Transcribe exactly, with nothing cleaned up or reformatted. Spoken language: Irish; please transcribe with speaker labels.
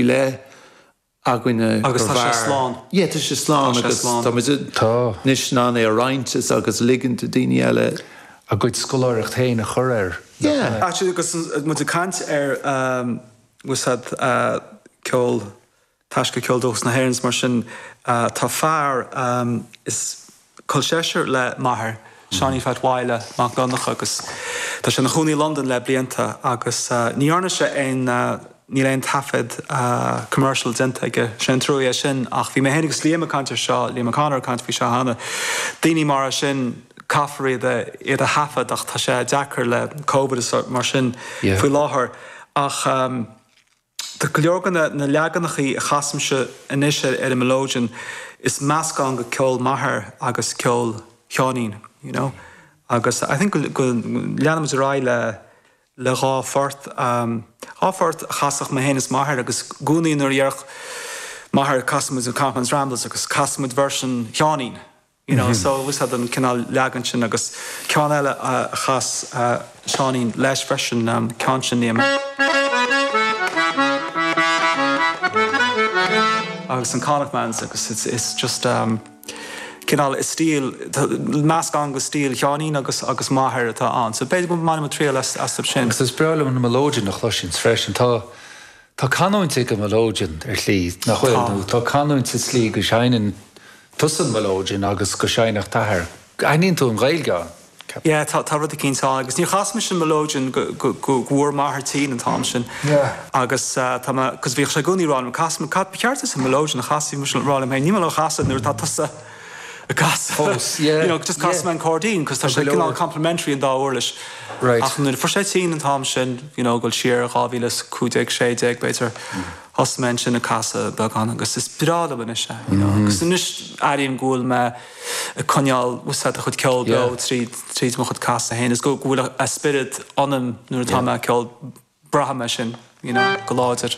Speaker 1: leith againne.
Speaker 2: Agus tá sé slán.
Speaker 1: Yeah, tá sé slán agus tá
Speaker 3: Tá.
Speaker 1: anois in ann é a roinnt agus ligean do daoine eile.
Speaker 3: A gcuid scoláireacht féin a chur air.
Speaker 1: Yeah.
Speaker 2: Actually agus muid ag caint ar um, úsáid uh, ceol taisce ceol dúchas na hÉireann mar sin uh, tá fear um, is col seisear le m'athair Seánie Phat Mhaidhle Mac Donncha agus tá sé ina chónaí London le blianta agus uh, ní dhearna sé aon uh, níl aon taifead uh, commercial déanta aige sin trua sin ach bhí mé féin agus Liam ag caint seo Liam O'Connor caint faoi seo cheana. Daoine mar sin caithfear iad iad a thaifead ach tá sé deacair le COVID is mar sin
Speaker 3: Yeah.
Speaker 2: faoi láthair ach um, Tá go leor na, na leaganachaí a chasaimse anois ar ar an melodeon is meascán de ceol m'athar agus ceol Sheáinín, you know? Agus I think go, go leanfaimid ar aghaidh le le dhá phort um, dhá phort a chasfadh mé féin is m'athair agus i gcónaí nuair a deireadh m'athair casfaimid an Connachtman's Ramblers agus casfaimid version Sheáinín. You know, mm -hmm. so was had an cineál leagan sin agus ceann eile a chas uh, Seáinín leis freisin um, ceann sin níom. agus an Connachtman's agus it's, it's just um, cineál is stíl meascán de stíl Sheáinín agus agus m'athair atá ann. So b'fhéidir go mbainfidh mé triail as as sin.
Speaker 3: Agus is breá liom na melodeon a chloisint freisin tá Tá canúint ag an melodeon ar shlí nach bhfuil nó tá canúint sa slí go seinneann tusa an melodeon agus go seinnfeadh d'athair. Aithníonn tú an Ghaeilge ann.
Speaker 2: Yeah, tá tá rud éicint ann agus níor chas mise an melodeon go go go bhfuair m'athair tinn an t-am sin.
Speaker 3: Yeah.
Speaker 2: Agus uh, tá cos bhíodh sé i gcónaí ag rá liom cas cad ceart is an melodeon a chas mise rá liom ní le chasadh nuair atá tusa ag casadh.
Speaker 3: Fós, yeah,
Speaker 2: You know, just cas
Speaker 3: yeah.
Speaker 2: an cairdín, cos tá sé
Speaker 3: go leor.
Speaker 2: cineál complementary an dá uirlis.
Speaker 3: Right.
Speaker 2: Ach nuair fuair sé tinn an t-am sin, you know, go siar dhá mhíle cúig déag sé déag b'fhéidir thosaigh mé sin ag casadh beagán agus is breá liom anois é, you know. Agus anois airím go bhfuil mé ag coinneáil úsáid a chud ceol beo
Speaker 3: Yeah.
Speaker 2: tríd tríd mo chud casadh féin, is go go bhfuil a spiorad ionam nuair atá mé ag ceol braithim é sin, you know, go láidir.